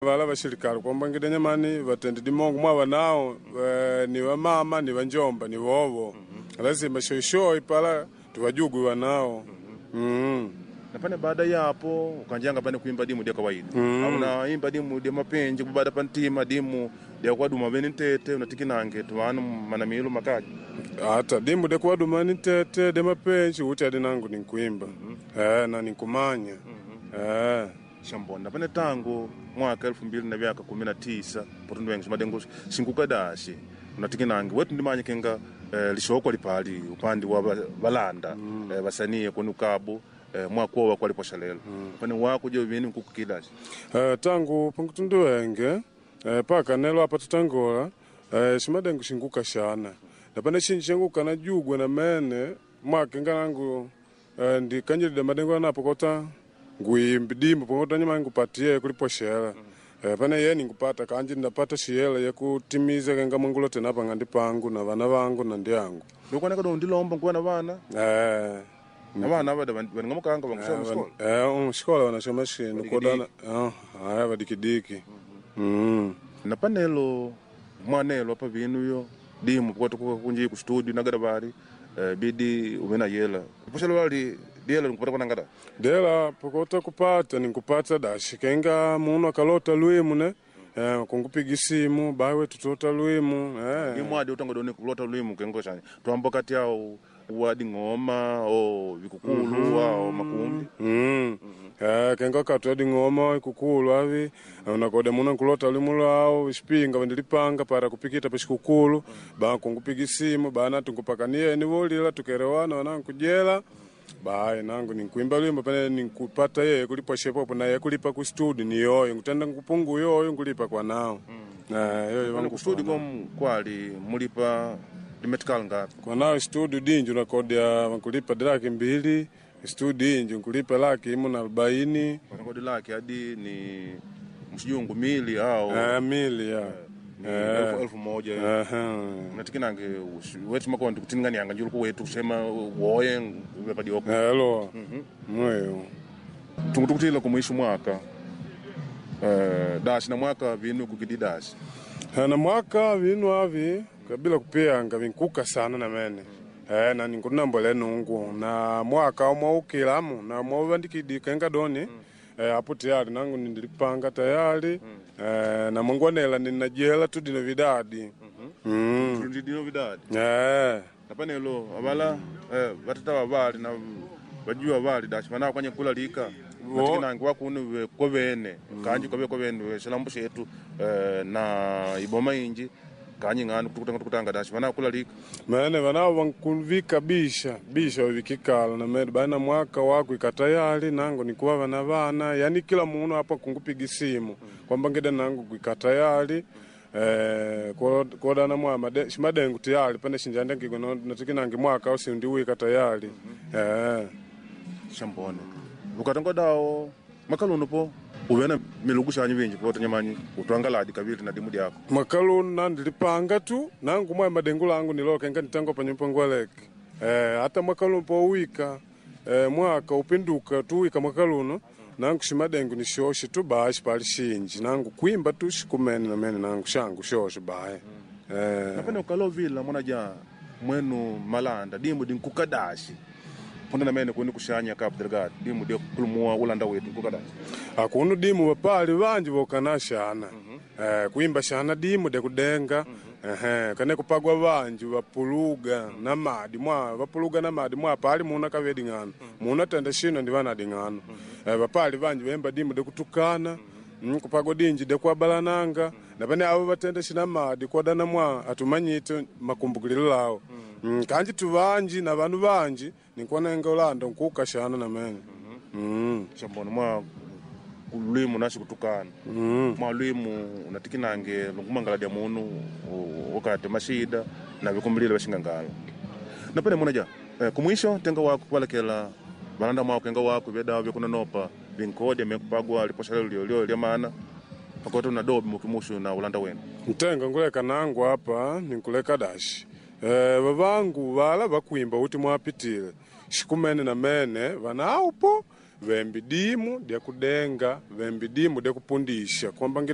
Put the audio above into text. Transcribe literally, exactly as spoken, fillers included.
Vala vasirikali kwambangida nyamani vatende dimongo mwa vanao eh, ni vamama ni vanjomba ni vovo lazima shoishoi pala tuvajugwi vanao mm. Na pane baada yapo ukanjanga pane kuimba dimu dia kawaida Mm. au unaimba dimu dia mapenji kubada pantima dimu dia kwaduma bene ntete unatikinange tuwanu manamilu makaji Ata dimu dekuwadumani tete demapenji uti adi nangu ninkuimba eh, na ninkumanya eh. Shambona pane tangu mwaka elfu mbili na vyaka kumi na tisa potundu wengi madengo sinkukadashi unatikinange wetu ndimanye kenga eh, lishokwa lipali upande wa ba- balanda mm. eh, basanie kunu kabu eh, mwakowa kwaliposha lelo mm. pane wako je vini nkukukidashi Eh, tangu pankutundu wenge eh, paka nelo apa tutangola eh, shimadengu shinguka shana napane shinji shanguka najugwa na mene mwakenga nangu eh, ndikanjilide madengu anapo kota nguimbi dimbo pongota nyuma ngupatie kuliposhela eh, pane ye ningupata kanji ndapata shiyela yekutimiza kenga mwangulo tena pang'andi pangu na vana vangu na ndiangu ndikuoneka do ndilomba nkuwa na vana eh, na vana vada vaningamukanga vankusoma shikola eh, um, shikola wanashoma shinu kodana eh, aya vadikidiki mm. na panelo mwanelo apa vinu yo dimu kwatu kunji ku studio nagada bali eh, bidi umena yela poshelo bali diela nkupata kwa nangada Dela pokota kupata ninkupata dashi kenga muno akalota lwimu ne eh, kungupiga simu bawe tutota lwimu eh. ni mwadi utanga doni kulota lwimu kengo shani twamba kati yao wadi ngoma o vikukulu ao makumbi Mm. Eh, kenga katwedi ng'oma ikukulu avi unakoda muno nkulota lwimu lwawo ishipinga vandilipanga para kupikita pashikukulu ba kungupiga simu bana tunkupakanie nivolila tukerewana wanankujela bayi nangu ninkuimba lwimbo pene ninkupata yeye kulipa shepopo na ye kulipa ku studio ni yoyo nkutenda nkupungu yoyo nkulipa kwa nao mm. eh, yoyo Pana vangu ku studio kwa nao. kom kwali mulipa limetikal ngapi Kwa nao studio dinji unakodia nkulipa laki mbili studio inji nkulipa laki imu na arobaini wanakodi laki hadi ni msijungu mili au Eh, mili ya ni elfu, elfu moja Aha. unatikinange wetu makondi kutinganianga njuluku wetu kusema woye vepadioko Elo mweyo tungutukutila kumwisho mwaka eh, dashi na mwaka vinu kukidi dashi na mwaka vinu avi kabila kupiyanga vinkuka sana na mene eh, na ninkunambole nungu na mwaka omwaukilamu na mwavandikidi kenga doni eh, apo tayari nangu nindilipanga tayari eh, na mwangwanela ninajela tu dino vidadi mm. tundidino vidadi eh. napanelo avala eh, vatata vavali na vajuwa vali dashi vanao kwanye kulalika Wo. natikinange wakunu ve kovene kanji kove kovene ve shilambo shetu eh, na iboma inji kanyi ng'anu kutukutanga tukutanga dashi vanao kulalika Mene vanao vankuvika bisha bisha wavikikala na mene bana mwaka wako ikatayali nangu nikuwa vana vana yani kila munu apa kungupiga simu kwamba ngida nangu kuikatayali eh, ko- kodana mwa made- shimadengu tayali pane shinjandangigwe natikinange mwaka au sindiwika tayali eh. shambone ukatonga dawo makaluno po uvena milugu shanyu vinji po tanyamanyi utwangaladi kavili na dimu dyako mwakaluno nandilipanga tu nangu mwa madengu langu nilokenga nitango panyumba ngwaleke eh, hata mwakaluno powika eh, mwaka upinduka tuwika mwakaluno nangu shimadengu ni shoshe tu bashi pali shinji nangu kwimba tu shikumene na mene nangu shangu shoshe baye eh, napene ukalovila mwana ja mwenu malanda dimu dinkukadashi punda namene kuni kushanya Cabo Delgado dimu dia kulumua ulanda wetu nkukadashi akunu dimu vapali vanji vokana shana eh, kuimba shana dimu dekudenga ehe kane kupagwa vanji vapuluga na madi mwa vapuluga na madi mwa pali muna kavedi ng'ano muna tenda shino ndi vanadi ng'ano eh, vapali vanji vemba dimu dekutukana mm, kupagwa dinji dekwabalananga na pane avo vatenda shina madi kodana mwa atumanyite makumbukililo lawo mm, kanji tuvanji na vanu vanji ninkuonenga ulanda nkuka shana na mene mm. shambona mwa lwimu nashi kutukana Mm. mwa lwimu unatikinange lungumangala dia munu u- wakati mashida na vikumbilile vashingangala napene muna ja eh, kumwisho tenga wako kuvalekela valanda mwako kenga wako vyedawa vyakunonopa vinkodya mekupagwa liposha lyo lyo lya mana pakota una dobi mukimushu na ulanda wenu Ntenga nguleka nangu apa ninkuleka dashi e, vavangu vala vakwimba uti mwapitile shikumene na mene vanaupo vembi dimu dya kudenga vembi dimu dya kupundisha kwamba